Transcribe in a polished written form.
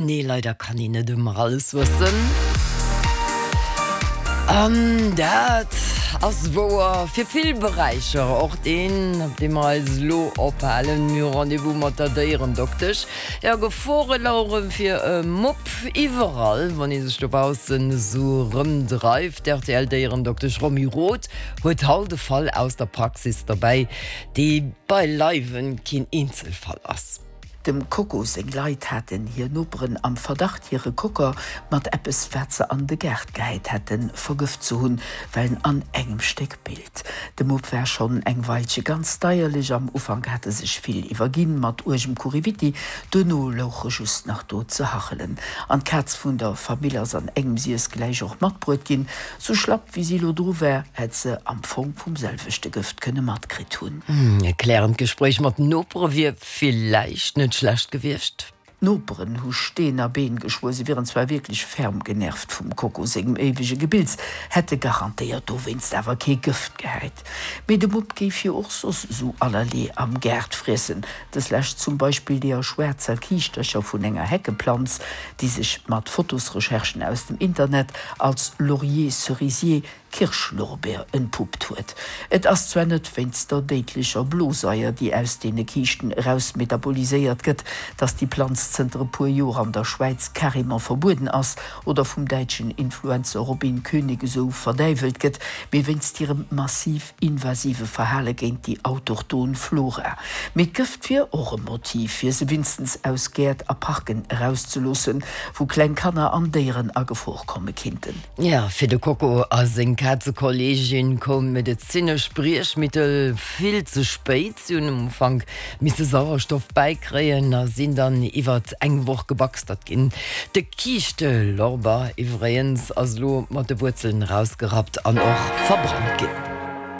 Nee, leider kann een net ëmmer alles wëssen. An dat ass wouer fir vill Beräicher, och deen, op deem mer eis elo ophalen. Mir hu Rendez-vous mat der Déierendoktesch. Jo, Gefore lauere fir e Mupp iwwerall, wann ee sech dobaussen esou erëmdreift. D'RTL-Déierendoktesch Romy Roth huet haut e Fall aus der Praxis derbäi, dee beileiwen keen Eenzelfall ass. Dem Coco seng Leit haten hir Noperen am Verdacht, hire Cocker mat eppes, wat se an de Gaart gehäit hätten, vergëft ze hunn, well en an engem Stéck bilt. De Mupp war schonn eng Weilche ganz deierlech. Am Ufank hat e sech vill iwwerginn mat uergem Kuriwitti, duerno louch e just nach do ze hachelen. An d'Kaz vun der Famill ass an engem Siess gläich och matbruet ginn. Sou schlapp wéi si lo dru war, hätt se am Fong vum selwechte Gëft kënne matkritt hunn. E klärend Gespréich mat den Nopere wier Villäicht net schlecht gewiescht. D'Noperen hu Steen a Been geschwuer, se wieren zwar wierklech ferm genervt vum Coco sengem éiwege Gebills, hätte garantéiert dowéinst awer kee Gëft gehäit. Mee de Mupp géif jo och soss esou allerlee am Gaart friessen, dës Lescht zum Beispill deeër schwaarzer Kiischtercher vun enger Heckeplanz, déi sech mat Fotosrecherchen aus dem Internet als Laurier-Cerisier Kirschlorbeer entpuppt huet. Et ass zwar net wéinst der déidlecher Blosaier, déi aus deene Kiischten erausmetaboliséiert gëtt, dass déi Planz zënter e puer Joer an der Schwäiz carrément verbueden ass oder vum däitschen Influencer Robin König esou verdäiwelt gëtt, mee wéinst hirem massiv invasive Verhale géint déi autochthon Flora. Mee d'Gëft wier och e Motiv, fir se winstens aus Gäert a Parken erauszeloossen, wou kleng Kanner an Déieren a Gefor komme kinnten. Jo, fir de Coco a seng Kazekolleegin koum d'medezinesch Briechmittel vill ze spéit. Si hunn um Ufank misse Sauerstoff bäikréien a sinn dann iwwert eng Woch gebaxtert ginn. De Kiischtelorber iwwregens ass elo mat de Wuerzelen erausgerappt an och verbrannt ginn.